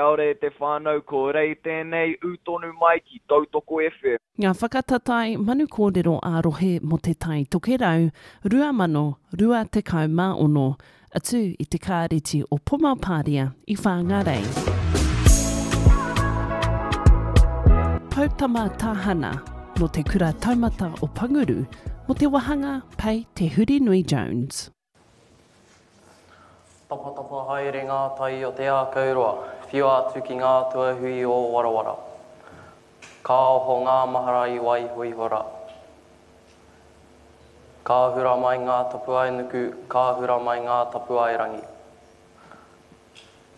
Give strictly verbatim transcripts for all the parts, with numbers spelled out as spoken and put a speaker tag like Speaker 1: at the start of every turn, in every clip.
Speaker 1: Kia ora e te whānau, ko Rei tēnei, ū tonu mai ki Tautoko F M.
Speaker 2: Ngā whakatatae manu kōrero ā-rohe mō Te Tai Tokerau rua mano rua tekau mā ono, atu i te Kāreti o Pomapāria i Whāngārei. Poutama Tahana nō te Kura Taumata o Panguru mō te wāhanga Pei Te Hurinui Jones.
Speaker 3: Tapatapa haere ngā tai o te ākau roa, whiua atu ki ngā tuahui o Warawara. Ka oho ngā mahara i waihoihora. Ka hura mai ngā tapuae nuku, ka hura mai ngā tapuae rangi.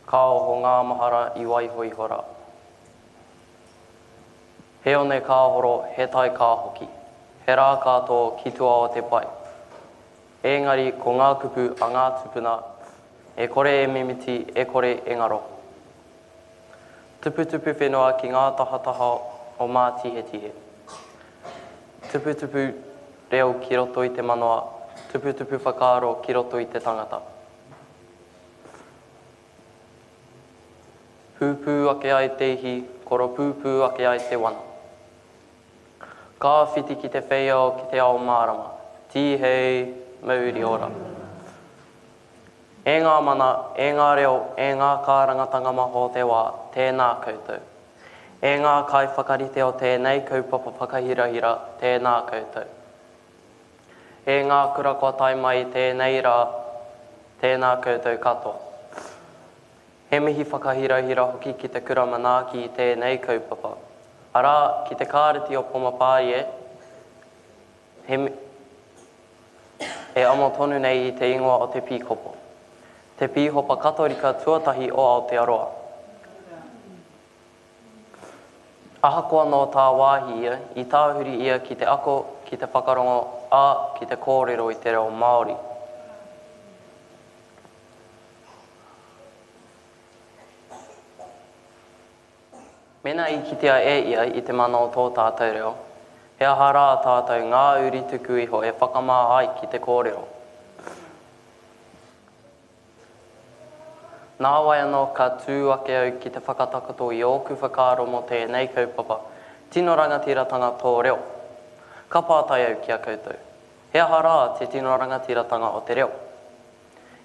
Speaker 3: Ka oho ngā mahara i waihoihora. He one ka horo, he tai ka hoki. He rā ka tō ki tua o te pai. Engari ko ngā kupu a ngā tupuna, e kore e mimiti, e kore e ngaro. Tuputupu whenua ki ngā tahataha o Mātihetihe. Tuputupu reo ki roto i te manawa, tuputupu whakaaro ki roto i te tangata. Pūpū ake ai te ihi, koropūpū ake ai te wana. Ka whiti ki te wheiao ki te ao mārama, tīhei, mauri ora. E ngā mana, e ngā reo, e ngā kārangatanga maha o te wā, tēnā koutou. E ngā kai whakarite o tēnei kaupapa whakahirahira, tēnā koutou. E ngā kura kua tae mai tēnei rā, tēnā koutou katoa. He mihi whakahirahira hoki ki te kura manaaki i tēnei kaupapa. Arā, ki te Kāreti o Pomapārie, he e amo tonu nei i te ingoa o te pīkopo. Te pīhopa katorika tuatahi o Aotearoa. Ahakoa nō tā wāhi ia, i tāhuri ia ki te ako, ki te whakarongo, ā, ki te kōrero i te reo Māori. Mena i kitea e ia i te mana o tō tātou reo, he aha rā tātou ngā uri tuku iho e whakamā ai ki te kōrero. Nā wai anō ka tū ake au ki te whakatakoto i ōku whakaaro mō tēnei kaupapa, tino rangatiratanga tō reo. Ka pātai au ki a koutou, he aha rā te tino rangatiratanga o te reo?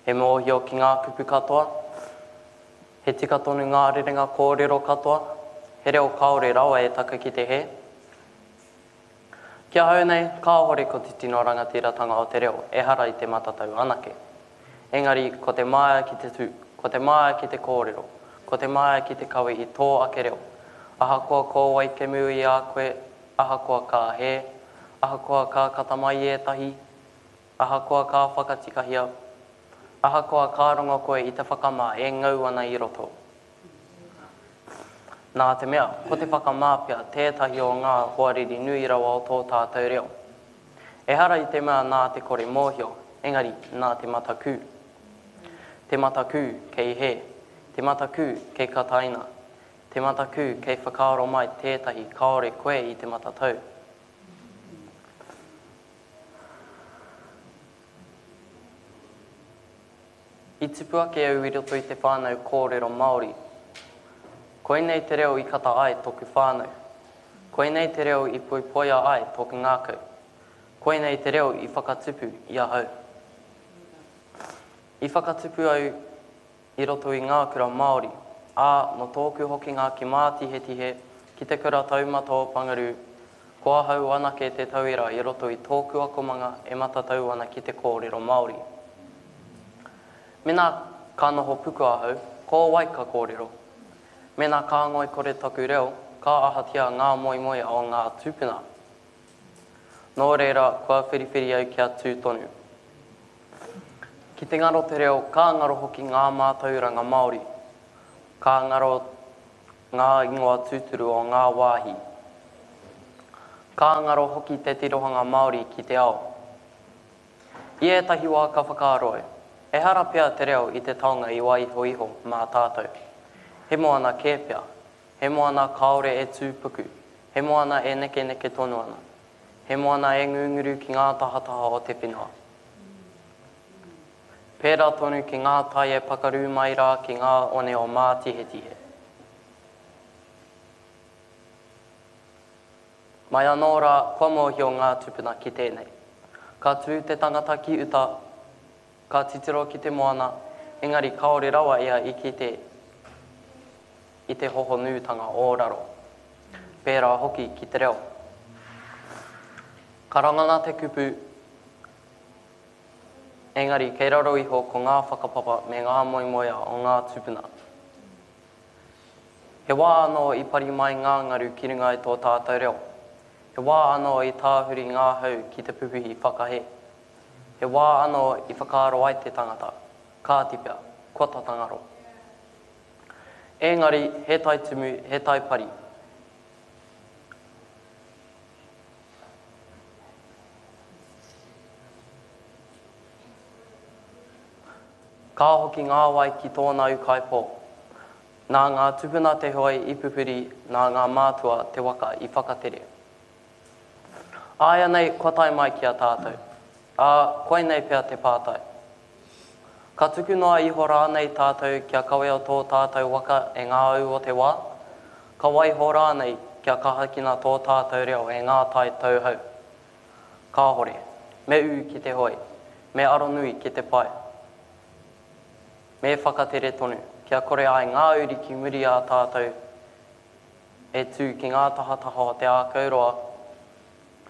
Speaker 3: He mōhio ki ngā kupu katoa? He tika tonu ngā rerenga kōrero katoa? He reo kāore rawa e taka ki te he? Ki ahau nei, kāhore ko te tino rangatiratanga o te reo ehara i te matatau anake. Engari, ko te māia ki te tū, ko te māia ki te kōrero, ko te māia ki te kawe i tō ake reo. Ahakoa ko wai kemu i a koe, ahakoa ka he, ahakoa ka kata mai ētahi, ahakoa ka whakatikahia, ahakoa ka rongo koe i te whakamā e ngau ana i roto. Nā te mea, ko te whakamā pea tētahi o ngā hoariri nui rawa o tō tātou reo. Ehara i te mea nā te kore mōhio, engari nā te matakū. Te matakū kei he, te matakū kei kataina, te matakū kei whakaaro mai tētahi kāore koe i te matatau. I tupu ake au i roto i te whānau kōrero Māori. Koinei te reo i kata ai tōku whānau. Koinei te reo i poipoia ai tōku ngākau. Koinei te reo i whakatupu i ahau. I whakatupu au i roto i ngā kura Māori, ā, nō tōku hokinga ki Mātihetihe, ki te kura taumata o Pangarū, ko ahau anake te tauira i roto i tōku akomanga e matatau ana ki te kōrero Māori. Mena ka noho puku ahau, ko wai ka kōrero. Mena ka ngoi kore taku reo, ka ahatia ngā moemoe o ngā tūpuna. Nō reira, kua whiriwhiri au kia tū tonu. Ki te ngaro te reo, ka ngaro hoki ngā mātauranga Māori. Ka ngaro ngā ingoa tūturu o ngā wāhi. Ka ngaro hoki te tirohanga Māori ki te ao. I ētahi wā ka whakaaro au, ehara pea te reo i te taonga i waiho iho mā tātou. He moana kē pea, he moana kāore e tūpuku, he moana e nekeneke tonu ana, he moana e ngunguru ki ngā tahataha o te whenua. Pērā tonu ki ngā tai e pakarū mai rā ki ngā one o Mātihetihe. Mai anō rā, kua mōhio ngā tūpuna ki tēnei. Ka tū te tangata ki uta, ka titiro ki te moana, engari kāore rawa ia i kite i te hohonutanga o raro. Pērā hoki ki te reo. Ka rangona te kupu, engari kei raro iho ko ngā whakapapa me ngā moemoeā o ngā tūpuna. He wā anō i pari mai ngā ngaru ki runga i tō tātou reo. He wā anō i tāhuri ngā hau ki te pupuhi whakahē. He wā anō i whakaaro ai te tangata, kāti pea, kua tata ngaro. Engari, he tai tumu, he tai pari. Ka hoki ngā wai ki tōna ūkaipō. Nā ngā tupuna te hoe i pupuri, nā ngā mātua te waka i whakatere. Āianei kua tae mai ki a tātou. Ā, koinei pea te pātai. Ka tuku noa iho rānei tātou kia kawea tō tātou waka e ngā au o te wā? Ka waiho rānei kia kahakina tō tātou reo e ngā tai tauhou? Kāhore. Me ū ki te hoe. Me aronui ki te pae. Me whakatere tonu, kia kore ai ngā uri ki muri a tātou e tū ki ngā tahataha o te ākau roa,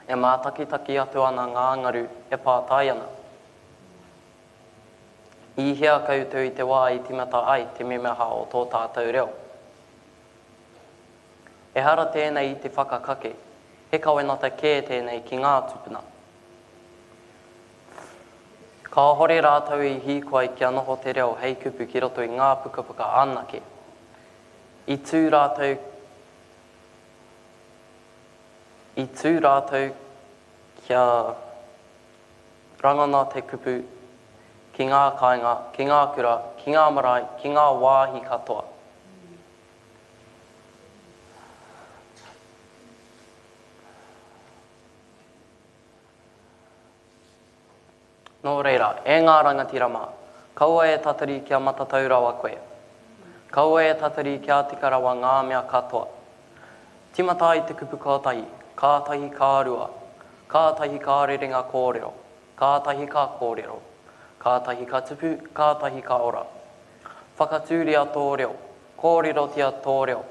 Speaker 3: e mātakitaki atu ana ngā ngaru e pātai ana. I hea koutou i te wā i tīmata ai te memeha o tō tātou reo? Ehara tēnei i te whakakake, he kawenata kē tēnei ki ngā tūpuna. Kāhore rātou i hīkoi kia noho te reo hei kupu ki roto i ngā pukapuka anake. I tū rātou, i tū rātou kia rangona te kupu ki ngā kāinga, ki ngā kura, ki ngā marae, ki ngā wāhi katoa. Nō reira, e ngā rangatira mā, kaua e tatari kia matatau rawa koe. Kaua e tatari kia tika rawa ngā mea katoa. Tīmata ai te kupu kotahi, kātahi ka rua, kātahi ka rere ngā kōrero, kātahi ka kōrero, kātahi ka tupu, kātahi ka ora. Whakatūria tō reo, kōrerotia tō reo,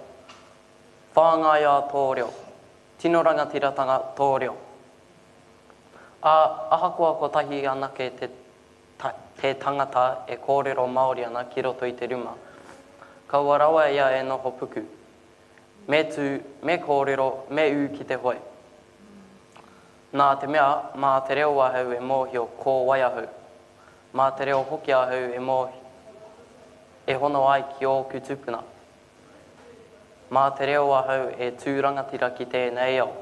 Speaker 3: whāngaia tō reo, tino rangatiratanga tō reo. Ā, ahakoa kotahi anake te, te tangata e kōrero Māori ana ki roto i te ruma, kaua rawa ia e noho puku. Me tū, me kōrero, me ū ki te hoe. Nā te mea, mā te reo ahau e mōhio ko wai ahau. Mā te reo hoki ahau e mōhio, e hono ai ki ōku tūpuna. Mā te reo ahau e tū rangatira ki tēnei ao.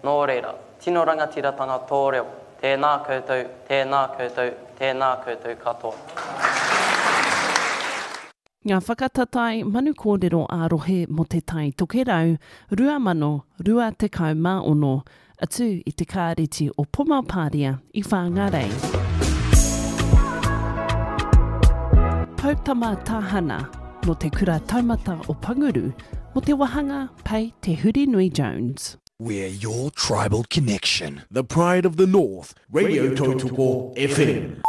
Speaker 3: Nō reira, tino rangatiratanga tō reo, tēnā koutou, tēnā koutou, tēnā koutou katoa.
Speaker 2: Ngā whakatatae manu kōrero ā-rohe mō te Tai Tokerau, rua mano rua tekau mā ono, atu i te kāreti o Pomapāria i Whāngārei. Poutama Tāhana, nō te kura taumata o Panguru, mō te wāhanga Pei Te Hurinui Jones.
Speaker 4: We're your tribal connection.
Speaker 5: The pride of the North, Radio Tautoko F M.